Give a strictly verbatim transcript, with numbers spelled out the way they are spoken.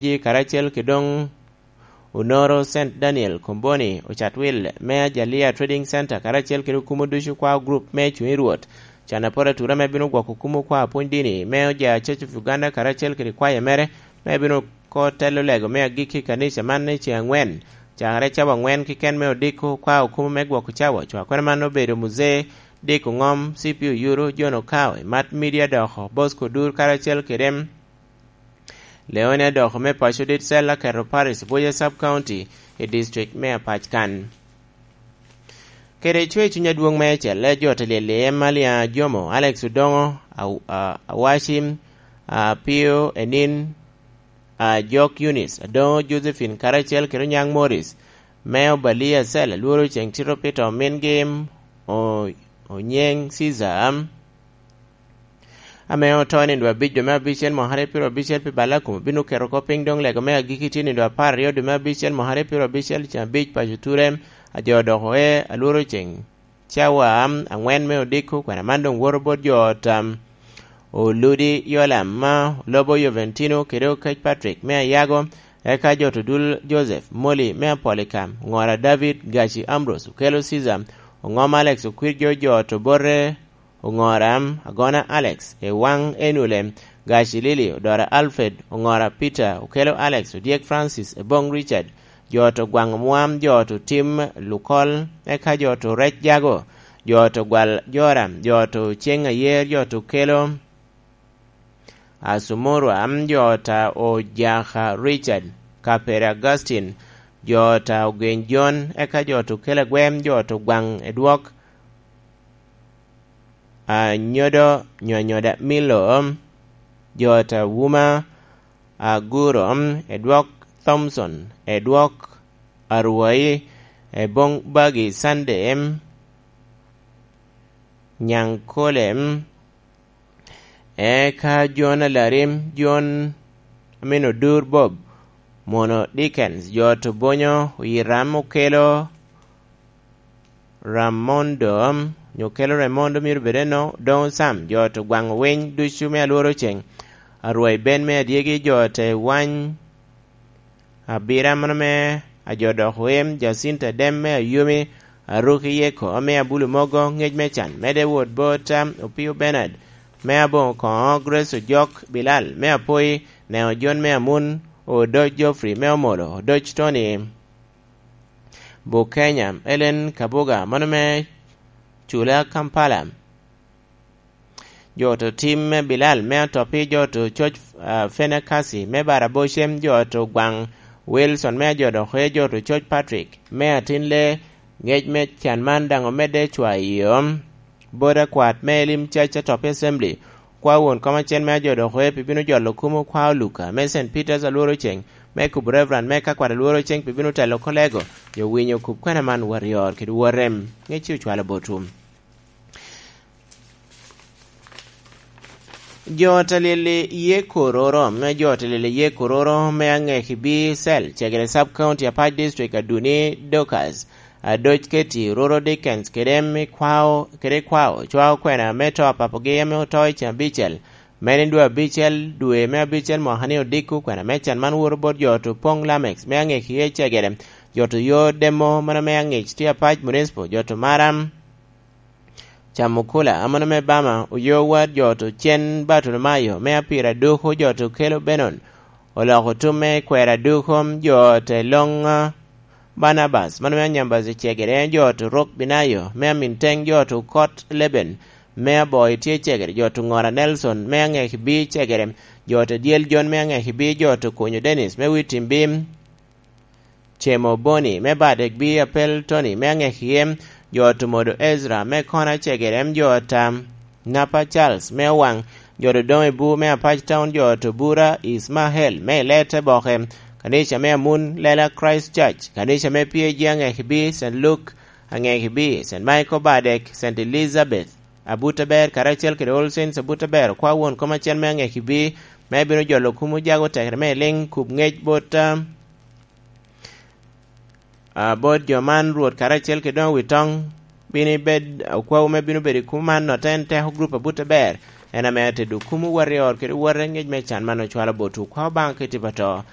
Ji karacel kede doŋ Onoro Saint Daniel Komboni, Ocatwil me Ajalia Trading Center, karacel kede okumo ducu kwao group me Cuŋ i Rwot, can aporo atura me bino gwoko okumo kwao pwony dini me Oja Church of Uganda, karacel kede kwaya mere me bino ko telo lego me agikki i kanica man i ceŋ aŋwen, cakere cawa aŋwen kiken me odiko kwao okumo me gwoko cawa. Cwakwene man obedo Muzee Diko Ŋom, C P Oyuru, John Okawe, Mat Media Doko, Bosco Dur, karacel kede Leone Doko me paco dit cel aketo Paris Buya Sub County i district me Apac kan. Kede cwe cuny adwoŋ me celle jo te lyel i Emalia Jomo, Alex Odoŋo, Aw-, a-, Awacim, a, Pio Enin, a, Jok Yunis, Adoŋo Josephine, karacel kede Onyaŋ Morris, me Obalia Cel, Alworo Ceŋ Tito Pito, Min Gim, O-, Onyeŋ Caesar, ame oto i nino abic dwe me abicel mwakere pyero abicel pi balla kom, obino keto oko piny doŋ lego me agikki tye i nino apar aryo dwe me abicel mwakere pyero abicel ceŋ abic paco Turem, a jo odoko e Alworo Ceŋ cawa aŋwen me odiko, kwena man doŋ woto bot jo tam Oludi Yolam ma Olobo Joventino kede Okec Patrick me Ayago, eka jo to dul Joseph Moli me Apolika, Ŋora David Gaci Ambrose, Okelo Caesar, Oŋom Alex Okwir jo jo to bote, Oŋora Agona Alex, Ewaŋ Enule, Gaci Lili, Odora Alfred, Oŋora Peter, Okelo Alex, Odyek Francis, Eboŋ Richard, jo to gwaŋ Omwam, jo to Tim Lukol, eka jo to Rec Jago, jo to Gwal Joram, jo to Ceŋ Ayer, jo to Okelo Asumurwa, jo ta Ojaka Richard, Kapere Augustine, jo ta Ogeny John, eka jo to Okelo Agwem, jo to gwaŋ Edwok, Anyodo, Nyonyoda Milo, jo ta Wuma, Aguro, Edwok Thompson, Edwok Arwai, Eboŋ Bagi Sunday, Nyaŋkole, eka Jon Alarim, Jon Amino Dur Bob, Mono Dickens, jo to Bonyo, Oyiram Okelo, Ramondo, onyo Okelo Ramondo myero bed eno, Doŋ Sam, jo to gwaŋ winy ducu me Alworo Ceŋ, Arwai Ben me Adyegi, jo te wany, Abira mano me Ajo Dok Wem, Jacinta Dem me Ayomi, Aruki Yeko me Abulu Mogo, Ŋec me Can, Mede Wot Bot, Opio Bernard me Aboŋo Koŋo, Grace Ojok, Bilal me Apoi, Neo Jon me Amun, Odoc Geoffrey me Omolo, Odoc Tony, Bukenya, Ellen Kabuga, mano me Cula, Kampala. Jo to Tim me Bilal me Atopi, jo to Coc, ah, Fenekasi me Barabocem, jo to Gwaŋ Wilson me Ajodoke, jo to Coc Patrick me Atinle, Ŋec me Can man daŋ omedde cwayo bot akwat me Elim Cac Atopi Assembly, kwa won kom acel me Ajodoke pi bino jolo kumo kwa Oluka me Saint Peter's Alworo Ceŋ, me kubo Reverend me Kakwat Alworo Ceŋ pi bino telo kolego, jo winyo kub kwena man warrior kede warem. Ŋec ci ocwalo botwu. Jo ta lyel i ye kororo, me jo ta lyel i ye kororo me Aŋekibi Cell, Cegere Sub County, Apac District, Aduni Dorcas, Adoc Keti, Roro Dickens, kede me kwao, kede kwao, cwao kwena me to apapogi ame oto i ceng abicel, me ni dwe abicel, dwe me abicel mwaka ni odiko, kwena me can man woto bot jo to Poŋ Lamex me Aŋekiye Cegere, jo to yo Demo mano me Aŋec tye Apac Municipal, jo to Maram, Camukula, amono me Bama, oyo wad jo to Cen Bartolomayo, me Apira Duku, jo to Kelo Benon, oloko tum me Kwera Duku, jo te Loŋ, ah, Barnabas, mano me Anyambas i Cegere, jo to Rok Binayo, me Aminteng, jo to Kot Leben, me Aboi tye Cegere, jo to Ŋora Nelson, me Aŋekibi Cegere, jo to Dyel Jon, me Aŋekibi, jo to Konyo Dennis, me Witimbi, Cemo Boni me Badek bi Apel Tony me Aŋekiem, jo Tumodo Ezra me Kona Cegerem, jo Tam Napa Charles me Owaŋ, jo Dodoŋ Ibu me Apac Town, jo Tubura Ismael me Ilete Boke, kanica me Amun Lela Christ Church, kanica me P A G Aŋekibi, Saint Luke Aŋekibi, Saint Michael Badek, Saint Elizabeth Abuteber, karacel kede All Saints Abuteber, okwa won kom acel me Aŋekibi, me bino jolo kumo jago tekere me liŋ kub ŋec bot, ah, ah, bot jo man, Rwot karacel kede doŋ wi toŋ, bino ibed okwawu me bino bedo i kumo man, notte en teko grup abut aber, en ame atedo kumo wot i ot kede wote ŋec me can man ocwalo botwu. Kwa Obaŋa keti pa to,